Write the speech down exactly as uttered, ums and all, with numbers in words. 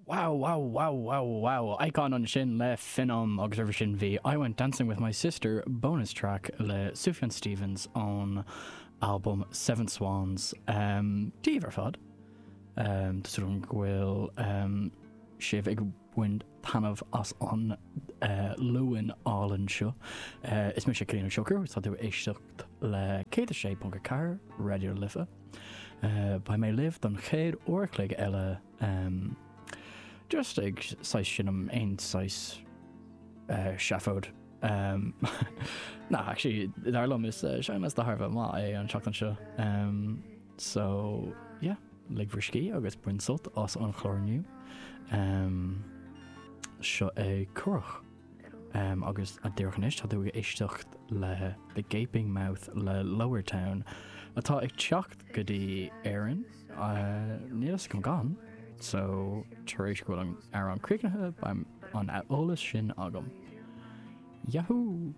Wow, wow, wow, wow, wow. Icon ansin le Finom agus roimhe sin bhí I Went Dancing with My Sister bonus track le Sufjan Stevens ón album Seven Swans. Um, Dia daoibh ar fad. Um, Tá súil agam go bhfuil um, sibh ag baint taitneamh as an uh, Luan álainn seo. Uh, is mise Cillian Ó Siochrú, tá tú ag éisteacht le céad a sé ponc a ceathair Raidió na Life. Uh, Beidh mé libh don chéad uair a chloig eile um, just ag saghas seinm aon saghas uh, seafóid. Um, na actually dar liom is uh, seinnliosta thar a bheith maith é an tseachtain seo. Um, so yeah, lig bhur scíth agus bain sult as an chlár inniu. Um, seo é Curach. Um, agus a díreach anois tá tú ag éisteacht le The Gaping Mouth le Lower Town atá ag teacht go dtí Éirinn uh, níl a fhios agam gan, so tar éis go bhfuil an amhrán críochnaithe beidh an eolas sin agam. Yahoo!